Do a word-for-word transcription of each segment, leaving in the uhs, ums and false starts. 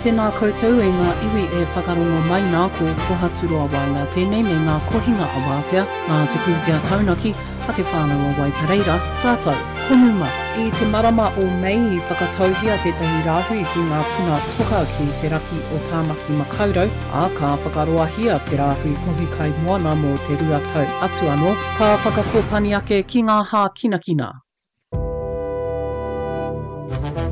Tēnā koutou e ngā iwi e whakarongo mai nā ko Kohaturoa Waenga tēnei me ngā kohinga awātea nā te pūtea taunaki a te whānau o Waipareira rātou ko Numa. I te marama o Mei i whakatauhia tētahi rāhui ki ngā puna toka ki te raki o Tāmaki Makaurau, ā, ka whakaroahia te rāhui kohi kai moana mō te rua tau atu anō, ka whakakōpani ake ki ngā hākinakina.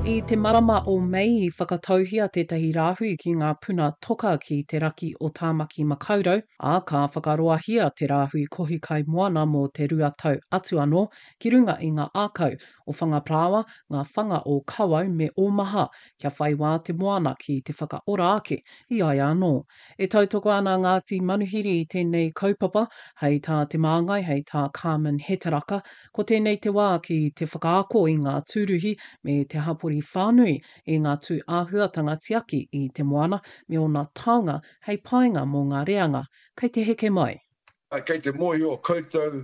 I te marama o Mei i whakatauhia tētahi rāhui ki ngā puna toka ki te raki o Tāmaki Makaurau, ā, ka whakaroahia te rāhui kohi kai moana mō te rua tau atu anō ki runga i ngā ākau o Whangaparāoa, ngā whanga o Kawau me Ōmaha kia whai wā te moana ki te whakaora ake i a ia anō. E tautoko ana Ngāti Manuhiri i tēnei kaupapa, hei tā te māngai, hei tā Carmen Hetaraka, Ko tēnei te wā ki te whakaako i ngā tūruhi me te hapori whānui i ngā tū āhuatanga tiaki i te moana me ōna taonga hei painga mō ngā reanga kei te heke mai. Kei te mōhio koutou,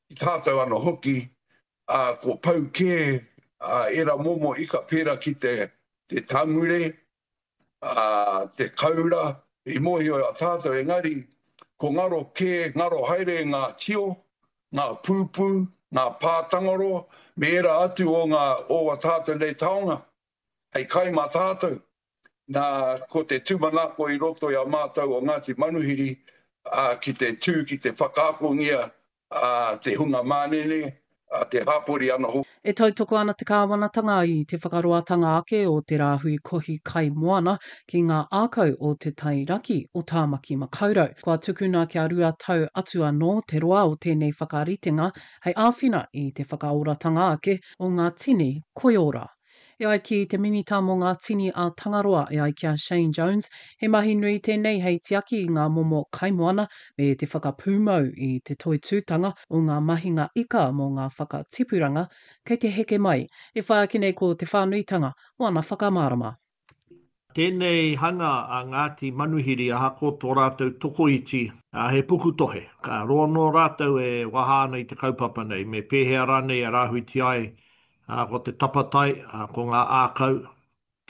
ki tātou ano hoki, ko pau kē ērā momo ika pērā ki te tāngure, ā, te kaura, i mōhio i a tātou, engari ko ngaro kē, ngaro haere ngā tio, ngā pūpū, ngā pātangaro, me ērā atu o ngā, o a tātou nei taonga, hei kai mā tātou. Nā, ko te tūmanako i roto i a mātou o Ngāti Manuhiri, ā, ki te tū, ki te whakaakongia ā, te hunga mānene, ā, te hapori anō hoki. E tautoko ana te kāwanatanga i te whakaroatanga ake o te rāhui kohi kai moana ki ngā ākau o te tai raki o Tāmaki Makaurau. Kua tukuna kia rua tau atu anō te roa o tēnei whakaritenga hei āwhina i te whakaoratanga ake o ngā tini koiora. E ai ki te Minita mō ngā Tini a Tangaroa, e ai ki a Shane Jones, he mahi nui tēnei hei tiaki i ngā momo kaimoana me te whakapūmau i te toitūtanga o ngā mahinga ika mō ngā whakatipuranga kei te heke mai. E whai ake nei ko te whānuitanga o ana whakamārama. Tēnei hanga a Ngāti Manuhiri ahakoa tō rātou tokoiti, he pukutohe. Ka roa noa rātou e waha ana i te kaupapa nei, me pēhea rānei e rāhuitia ai Ā, ko te tapatai, ā, ko ngā ākau,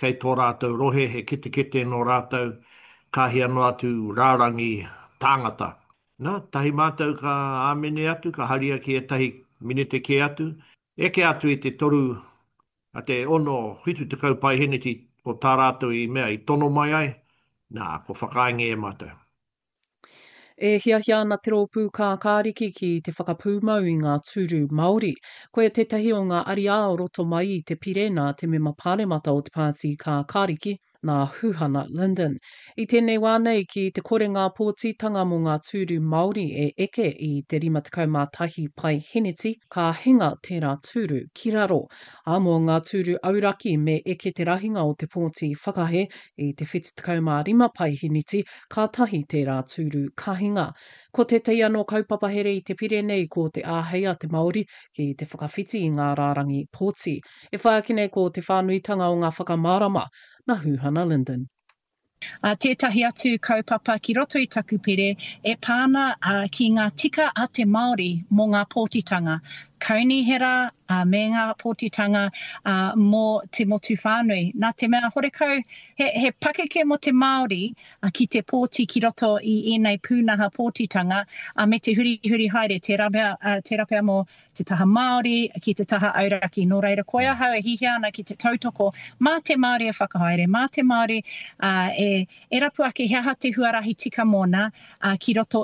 kei tō rātou rohe, he ketekete nō rātou, ka hia noa atu rārangi tāngata. Nā, tahi mātou ka āmene atu, ka haria ki ētahi minete kē atu, eke atu i te toru, a te ono, whitu tekau paeheneti o tā rātou i mea i tono mai ai, nā, kua whakaaengia e mātou. E hiahia ana te Rōpū Kākāriki ki te whakapūmau i ngā tūru Māori. Koia tētahi o ngā ariā o roto mai i te pire nā te mema pāremata o te Pāti Kākāriki, nā Huhana Lyndon. I tēnei wā nei, ki te kore ngā pōtitanga mō ngā tūru Māori e eke i te rima tekau mā tahi paeheneti, ka hinga tērā tūru ki raro. Ā, mō ngā tūru auraki me eke te rahinga o te pōti whakahe i te whitu tekau mā rima paeheneti, Kātahi tērā tūru ka hinga. Ko tētahi anō kaupapa here i te pire nei ko te āhei a te Māori ki te whakawhiti i ngā rārangi pōti. E whai ake nei ko te whānuitanga o ngā whakamārama nā Huhana Lyndon. Ā, tētahi atu kaupapa ki roto i taku pire e pā ana ki ngā tika a te Māori mō ngā pōtitanga kaunihera me ngā pōtitanga mō te motu whānui. Nā te mea horekau he, he pakeke mō te Māori ki te pōti ki roto i ēnei pūnaha pōtitanga me te hurihuri haere, tērā pea, tērā pea mō te taha Māori ki te taha auraki. Nō reira, koe ahau e hihia ana ki te tautoko mā te Māori e whakahaere, mā te Māori e, e rapu ake he aha te huarahi tika mōna ki roto